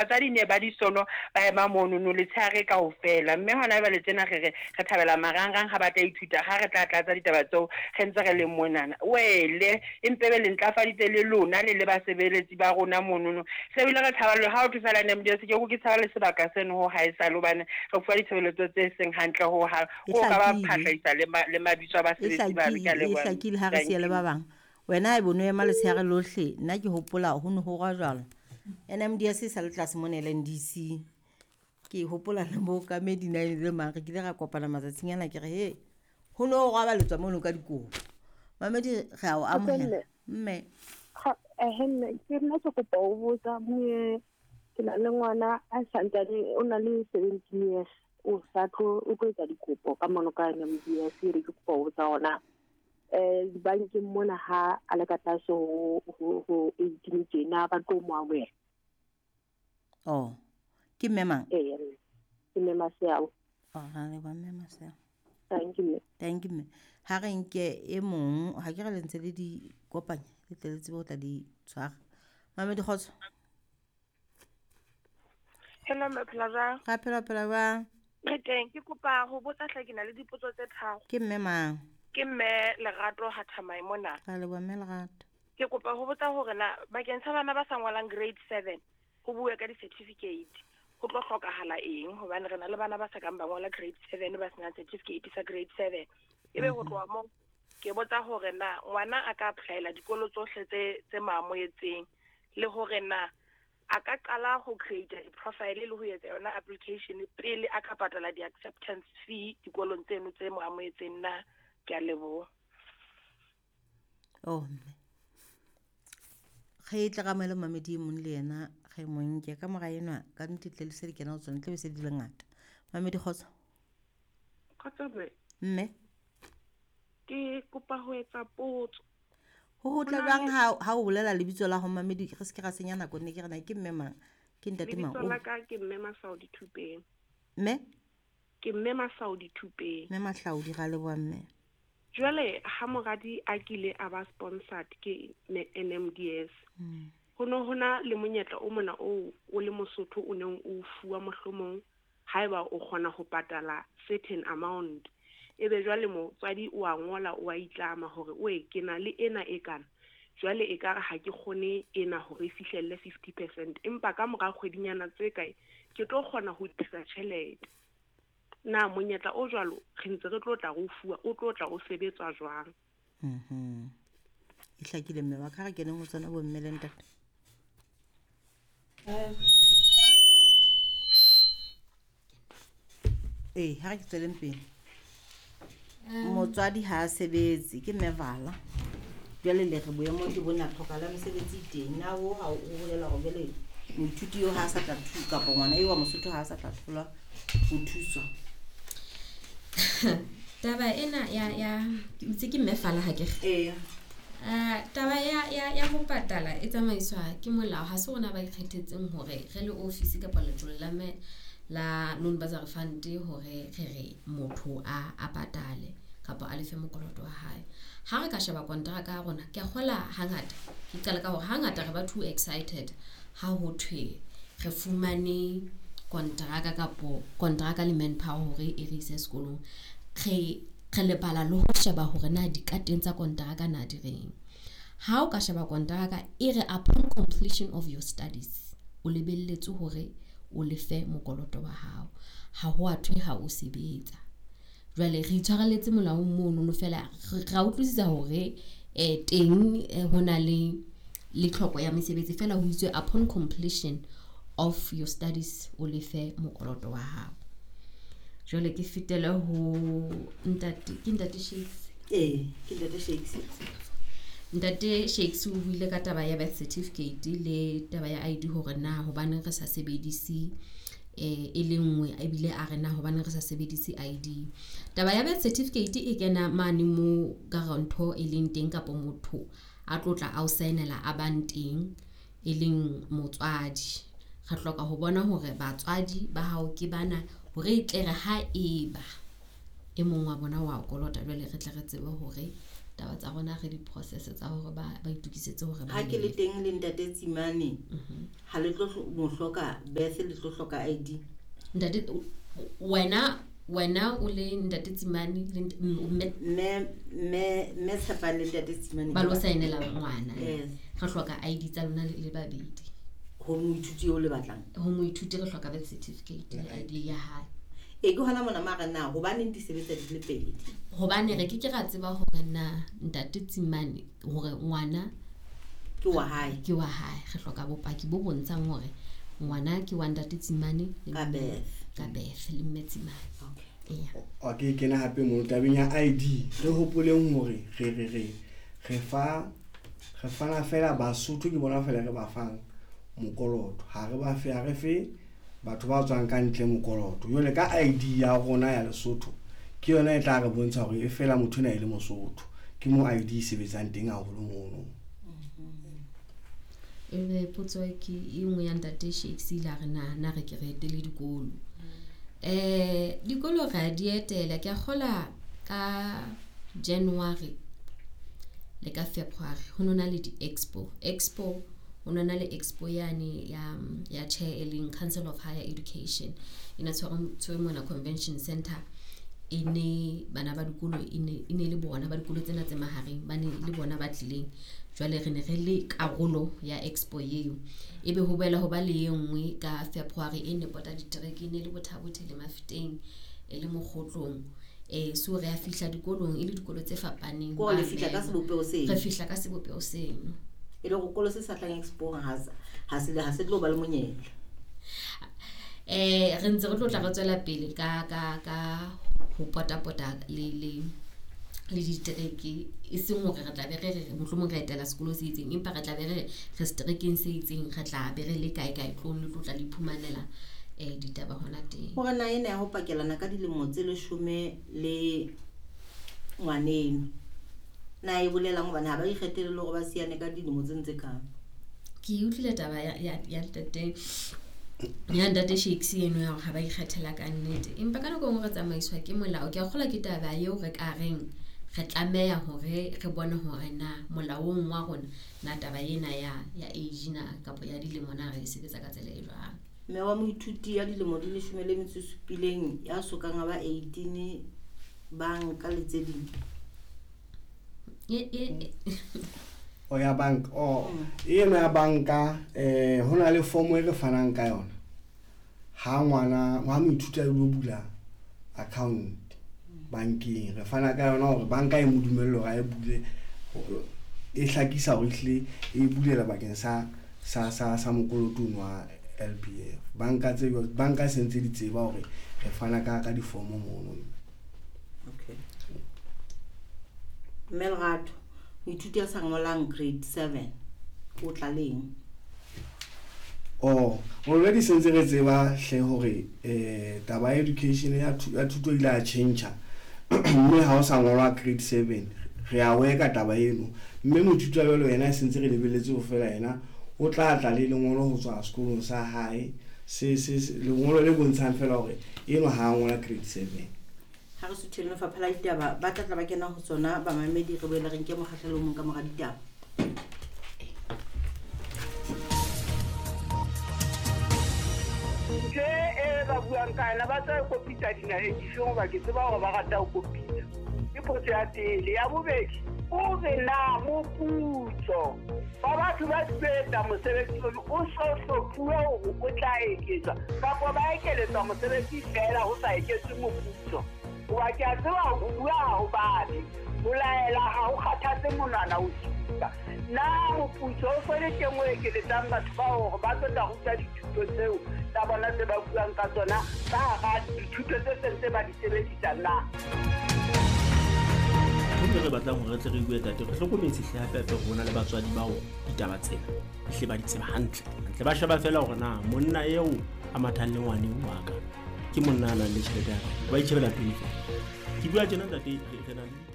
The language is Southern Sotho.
Batswadi ne ba di sono ba ema monono letshehare kaofela, mme hona jwale tjena re re re thabela marangrang ha ba tla ithuta ha re tla tlatsa ditaba tseo re ntse re le monana. Wele empe be le ntlafaditse le lona le le basebeletsi ba rona monono. Se bile re tshaba le ha ho thwe fela NMDS ke ke tshaba le sebaka seno ho haesale hobane re fuwa ditshebeletso tse seng hantle ho hang. E Ho ka ba hlakile. phahlaisa le ma, le mabitso a E basebetsi bano. Ke a hlakile, e leboha. hlakile ha re Thank siya le you. ba bang. Wena haeba o no ema letshehare lohle, nna ke hopola ho ne ho rojwalo. NMDS e sa le tlase mona LNDC. Ke hopola le mookamedi na e le mang, re kile ra kopana matsatsing ana ke re he, ho no ho robaletswa mono ka dikobo. Mamedi re a o amohela. Mme. Ehe mme, ke nna ke kopa ho botsa mme ke na le ngwana a santsane o na le 17 years o sa tlo o tlo etsa dikopo ka mono ka NMDS e re ke kopa ho botsa hona dibankeng mona ha a le ka tlase ho 18 tjena ba tlo mo amohela. Oh, ke mme mang? Ee, ke mme Maseabo. Oh, ra leboha mme Maseabo. Thank you, mme. Thank you, mme. Ha re nke e mong, ha ke re le ntse le di kopanya, le tle le tsebe ho tla di tshwara. Mamedi kgotso. Hello, mme, phela jwang? Ra phela, phela jwang? Re teng, ke kopa ho botsa hle ke na le dipotso tse tharo. Ke mme mang? Ke mme Lerato Hathamai mona. Ra leboha mme Lerato. Ke kopa ho botsa hore na bakeng sa bana ba sa ngolang grade 7 ho bue ka di-certificate ho tlo hlokahala eng, hobane re na le bana ba sa kang ba ngola grade 7 ba senang certificate sa grade 7. Ebe ho tloha moo ke botsa hore na ngwana a ka applyela dikolo tsohle tse maamohetseng, le hore na a ka qala ho create di-profile le ho etsa yona application pele a ka patala di-acceptance fee dikolong tseno tse mo amohetseng na. Ke a leboha. Oh, mme. Re tle ra amohele mamedi e mong le yena, re mo nke ka mora enwa, ka nnete tle le se di kena ho tsona, tle be se di le ngata. Mamedi kgotso. Kgotso mme. Mme. Ke kopa ho etsa potso. Ho ho tla Ho na jwang le ha o bolela lebitso la ho mamedi, re se ke ra senya nako, ne ke re na ke mme mang? Ke ntate mang? Lebitso la ka ke mme Masaudi Thupeng. Mme? Ke mme Masaudi Thupeng. Mme Mahlaudi, ra leboha mme. Jwale ha moradi a kile a ba sponsored ke NMDS, ho no hona le monyetla o mona o o le Mosotho o neng o fuwa mohlomong haeba o kgona ho patala certain amount. Ebe jwale motswadi o a ngola, o a itlama hore o e ke na le ena e kana. Jwale ekare ha ke kgone ena hore e fihlelle 50%, empa ka mora kgwedinyana tse kae ke tlo kgona ho tlisa tjhelete. Na monyetla o jwalo re ntse re tlo tla re o fuwa, o tlo tla o sebetswa jwang? E hlakile mme wa ka, re keneng ho tsona bo mme le ntate. Ee, ha re ke tsweleng pele. Motswadi ha a sebetse, ke mme Vala. Jwale le re boemong ke bona tlhoka la mesebetsi e teng. Na ho ha o bolela hore jwale moithuti eo ha a sa tla kapa ngwana eo wa Mosotho ha a sa tla thola ho thuswa? Taba ena ya ke utse ke mme Fala ha ke re. Ee. Taba ya ho patala e tsamaiswa ke molao, ha se rona ba ikgethetseng hore re le office kapa letsholo la me la loan bursary fund hore re re motho a patale kapa a lefe mokoloto wa hae. Ha re ka sheba kontraka ya rona, ke a kgola hangata, ke qala ka hore hangata re ba too excited ha ho thwe re fumane kontraka kapo kontraka le manpower hore e re ise sekolong. Re lebala le ho sheba hore na dikateng tsa kontraka na di reng. Ha o ka sheba kontraka e re upon completion of your studies o lebelletse hore o lefe mokoloto wa hao. Ha ho a thwe ha o sebetsa. Jwale re itshwareletse molaong mono no fela ra utlwisisa hore teng ho na le tlhoko ya mesebetsi, fela ho itswe upon completion of your studies o lefe mokoloto wa hao. Jwale ke fetele ho ntate, ke ntate Shakes. Ee, ke ntate Shakes. Ntate Shakes o buile ka taba ya birth certificate le taba ya ID hore na hobaneng re sa sebedise e le nngwe, ebile a re na hobaneng re sa sebedise ID. Taba ya birth certificate e kena mane mo guarantor e leng teng kapa motho a tlotla a o saenela a bang teng e leng motswadi. Re hloka ho bona hore batswadi ba hao ke bana hore e tle re ha eba e mong wa bona wa o kolota, jwale re tle re tsebe hore taba tsa rona re di-process tsa hore ba itukisetse hore ba Ha ke le teng le ntate Tsimane, ha le tlo mo hloka birth, le tlo hloka ID. Ntate wena o le ntate Tsimane le mme Tshepang le ntate Tsimane ba lo saenela ngwana. Yes. Re hloka ID tsa lona le babedi. Ho moithuti eo le batlang. Ho moithuti re hloka birth certificate le ID ya hae. E ke hona mona mara na hobaneng di sebetsa di le pedi? Hobane re ke ke ra tseba hore na ntate Tsimane hore ngwana ke wa hae. Ke wa hae. Re hloka bopaki bo bontshang hore ngwana ke wa ntate Tsimane le ka birth. Ka birth le mme Tsimane. Okay. Yeah. Okay, ke na hape mo tabeng ya ID re hopoleng hore re fana fela Basotho ke bona fela re ba fang mokoloto. Ha re ba fe, ha re fe batho ba tswang ka ntle mokoloto. Jwale ka ID ya rona ya Lesotho ke yona e tla re bontsha hore e fela motho ena e le Mosotho. Ke mo ID e sebetsang teng haholo mono. Ebe potso ke e nngwe ya ntate Shakes ile a re na re ke re etele dikolo. Dikolo re a di etela, ke a kgola ka January le ka February ho nona le di-expo. Expo ho nona le expo yane ya chair e leng Council of Higher Education e ne tshwerwe mona Convention Center. E ne bana ba dikolo e ne le bona ba dikolo tsena tse mahareng ba ne le bona ba tlileng. Jwale re ne re le karolo ya expo eo. Ebe ho boela ho ba le e nngwe ka February e ne pota ditereke, e ne le Bothabothe le Mafeteng e le Mokgotlong. So re a fihla dikolong e le dikolo tse fapaneng. Ko le fihla ka sebopeho seno. Re fihla ka sebopeho seno. E le hore kolo se sa tlang expo ha se tlo ba le monyetla. Re ntse re tlo tla re tswela pele ka ho potapota le ditereke, e seng hore re tla be re re mohlomong re etela sekolo se itseng, empa re tla be re re seterekeng se itseng, re tla be re le kae kae tlong le tlo tla le iphumanela ditaba hona teng. Hore na ena ya ho pakelana ka dilemo tse 10 le ngwaneno na e bolelang hobane ha ba ikgethele le hore ba siane ka dilemo tse ntse kang. Ke utlwile taba ya ntate ya ntate Shakes eno ya hore ha ba ikgethela ka nnete, empa ka nako e nngwe re tsamaiswa ke molao. Ke a kgolwa ke taba eo re ka reng re tlameha hore re bone hore na molaong wa rona na taba ena ya age na kapa ya dilemo na re e sebetsa ka tsela e jwang. Mme wa moithuti ya dilemo di 17 ya sokang a ba 18 banka le tse ding. O ya bank o eno ya banka hona le form e re fanang ka yona ha ngwana ha moithuti a lo bula account bankeng, re fana ka yona hore banka e mo dumelle hore a e bule, e hlakisa hore ehlile e bulela bakeng sa mokoloto wa LBF. Banka tse banka se ntse di tseba hore re fana ka difomo mono. Okay. Melrato moithuti a sa ngolang grade 7 o tla leng? Oh, already se ntse re tseba hle hore taba ya education ya thuto ile a change mme ha o sa ngolwa grade 7 re a weka taba eno, mme moithuti wa jwalo yena se ntse re lebelletse ho fela yena o tla tla le lengolo ho tswa sekolong sa hae se lengolo le bontshang fela hore eno ha a ngola grade 7. Ha re suthele lefapha la ditaba ba tla tla ba kena ho tsona bamamedi, re boele re nke mokgahlelo o mong ka mora ditaba. Ntho e ba buang ka yona ba tla kopitsa dinaheng difeng hoba ke tseba hore ba rata ho kopitsa. Ke potso ya pele. Ya bobedi, o re na moputso ba batho ba sebetsa mosebetsi ono o so hlophuwe hore o tla eketswa kapa ba ekeletswa mosebetsi feela ho sa eketswe moputso. Hoba ke a tseba ho bua ha ho babe, ho laela ha ho kgathatse monwana o supa. Na moputso o so le teng o ekeletsang batho ba hore ba tlo tla ruta dithuto tseo tsa bona tse ba buang ka tsona ka hara dithuto tse sentse ba di sebedisa na? Ntho re batlang hore re tle re bue tate, re hlokometse hle hape hape rona le batswadi bao ditaba tsena hle ba di tseba hantle. Hantle ba sheba fela hore na monna eo a mathang le ngwaneng wa ka ke monna a nang le tjhelete ya ka, ba itjhebela pele fela. Ke bua tjena ntate, re na le